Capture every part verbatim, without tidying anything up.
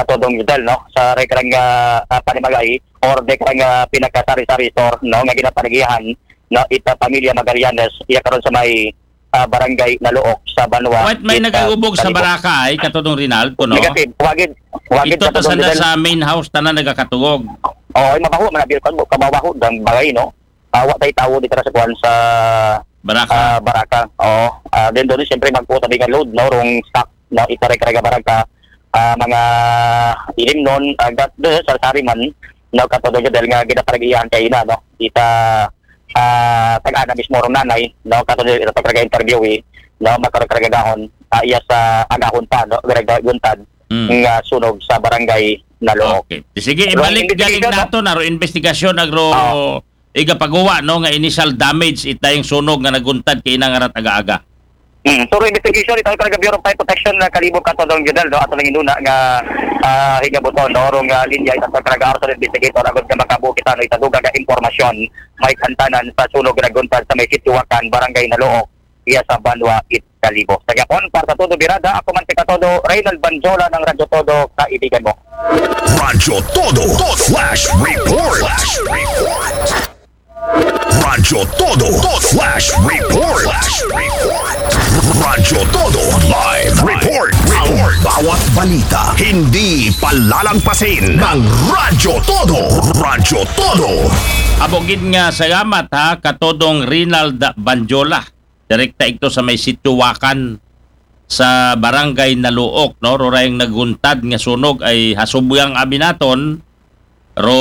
Katodong Judel, no? Sa rekrang uh, panimagay or rekrang uh, pinakasari-sari store, no? Nga ginapanagihan, no? Ita pamilya Magallanes, iya karon sa may uh, barangay Naluok sa Banwa. What may nagagubog sa baraka ay, Katodong Rinaldo, no? Negative. Wagid, wagid. Ito to sana sa main house, tanan nagakatugog. Oo, ay mabaho, manabil ka, kababaho, dang bagay, no? Uh, wa tay tawo dito sa kuan sa baraka. Uh, baraka. Oo. Uh, then doon, siyempre, magkuha tabi nga load, no? Rong stock, no? Ikarekarga baraka, uh, mga ilim nun, uh, gas, doon, sa sariman, no? Katodong Judel nga, ginaparagihan kayo na, no? Ita, uh, tag-ana mismo rong nanay, no? Katodong ita pagkarga interview, eh, no? Makarekarga gahon, uh, iya sa agahon pa, no? Garagda guntad, mm, nga sunog sa barangay Naluok. Okay. Sige, ibalik galing nato na ro investigasyon agro iga paghuwa, no, nga initial damage itayong sunog nga naguntad kay inang arat aga-aga. Mm. So, investigation ito ang Bureau of Fire Protection na Kalibo, Katodong Judel, no? Ato lang inuna nga uh, higabuton, no? Rong uh, linya itang pagkaragaar sa investigator agad nga makabuo kita, no? Itaduga nga impormasyon may kantanan sa sunog naguntad sa may Sitio Wakan, Barangay Naluok, iya sa Banwa, Kalibo. Sa Japon, para sa Todo Birada, ako man si Katodo, Reynald Banjola ng Radyo Todo, kaibigan mo. Radyo Todo, Todo Flash Report. Flash Report. Radyo Todo, Todo Flash Report. Flash Report. Radyo Todo Live Report. Report. Bawat balita, hindi palalangpasin ng Radyo Todo. Radyo Todo. Abogid nga salamat ha, Katodong Rinald Banjola. Direkta ito sa may Sitio Wakan sa Barangay Naluok, no? Rurayang naguntad nga sunog ay hasubyang abinaton, ro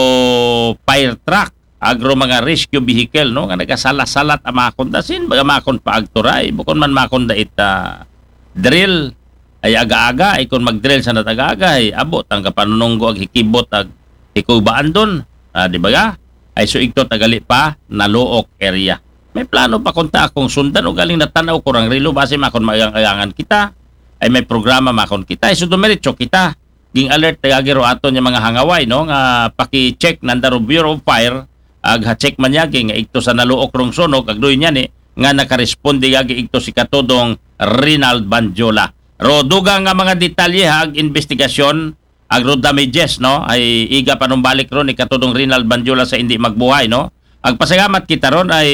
fire truck, agro mga rescue vehicle, no? Nga nagasalat-salat amakon da sin, baga makon pa agturay, bukon man makon da ita drill, ay aga-aga, ay kung mag-drill sa nataga-aga, ay abot ang kapanununggo ag hikibot ag hikubaan dun. Ah, di ba ga? Ay so igto tagali pa, Naluok area. May plano pa kunta akong sundan o galing natanaw ko rang rilo base makon maagang-agangan kita. Ay may programa makon kita. Ay so dumiretso kita. Ging alert tagagi ro aton yung mga hangaway, no? Nga paki-check nanda ro Bureau of Fire. Ag ha-check man yagi nga igto sa Naluok rong sunog, agdoy niya ni, nga nakaresponde yagi igto si Katodong Rinald Banjola. Ro dugang nga mga detalye ha, ag investigasyon, agro damages, no? Ay iga panumbalik ron ni Katodong Rinald Banjola sa hindi magbuhay, no? Agpasalamat kita ron ay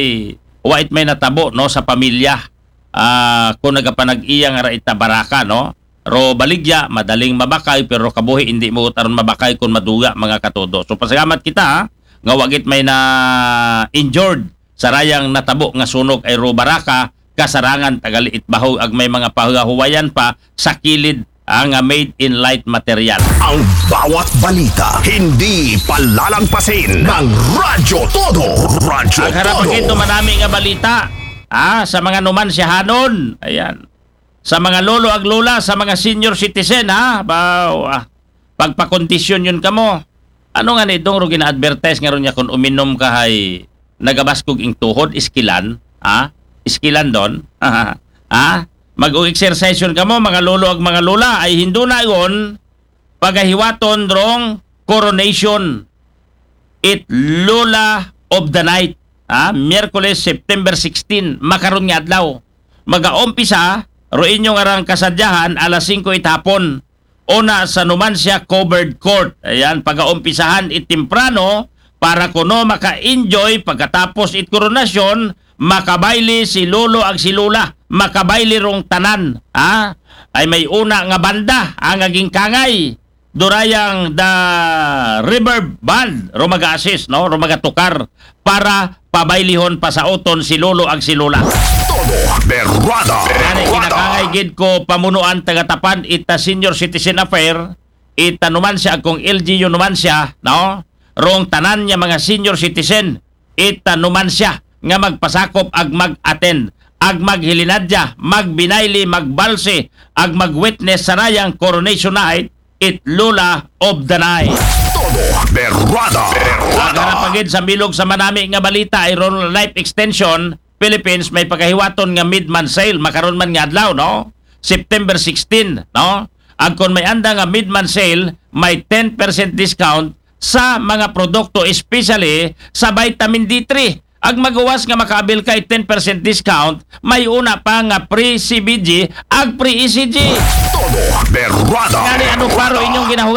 wait may natabo, no, sa pamilya. Ah, kung nagapanag-iya nga ra ita baraka, no? Ro baligya, madaling mabakay, pero kabuhi hindi mo aron mabakay kung maduga, mga Katodo. So pasalamat kita ha, nga wagit may na injured sa rayang natabo nga sunog ay ro baraka, kasarangan tagali itbahog ag may mga pahuwayan pa sa kilid, ah, nga made in light material. Ang bawat balita, hindi palalangpasin ng Radyo Todo. Radyo Todo. Ang harapagin manami nga balita, ah, sa mga numansyahanon. Ayan. Sa mga lolo ag lola, sa mga senior citizen, ha? Ba, ah, pagpakondisyon yun kamo. Ano nga ni dong ro gina-advertise nga ron niya kung uminom ka hay nagabaskog ing tuhod, iskilan, ha? Iskilan don, ha? Mag-exercise yun kamo, mga lolo ag mga lola, ay hindo na yun, pagahiwaton rong coronation it Lola of the Night, ha? Miyerkules, September sixteen, makaron nga adlaw. Magaumpisa ro inyong arang kasadyahan alas singko it hapon. Una sa Numancia Covered Court. Ayan, pagaumpisahan it temprano para kuno maka-enjoy pagkatapos it koronasyon, makabayle si Lolo ag si Lola, makabayle rong tanan, ha? Ay may una nga banda, ang aging kangay, durayang the Reverb Band, ro mag-assist, no? Ro magatukar para pabaylihon pasauton si Lolo ag si Lola. Todo berada. Gani, kinakangay gid ko pamunuan tagatapan ita Senior Citizen Affair, ita Numancia ag kung L G U Numancia, no? Rong tanan niya mga senior citizen, ita Numancia nga magpasakop ag mag-attend, ag maghilinadya, magbinayli, magbalse, ag mag-witness sa rayang coronation night, it Lola of the Night. Todo berada. Ag harapagid sa bilog sa manami nga balita, ay ron Life Extension Philippines may pagahiwaton nga mid-month sale, makaron man nga adlaw, no? September sixteen, no? Ag kon may anda nga mid-month sale, may ten percent discount sa mga produkto, especially sa vitamin D three. Ag magawas nga makaabil ka it ten percent discount, may una pa nga free C B G ag free E C G. Todo berada. Ngani ano paro inyong ginahugasan?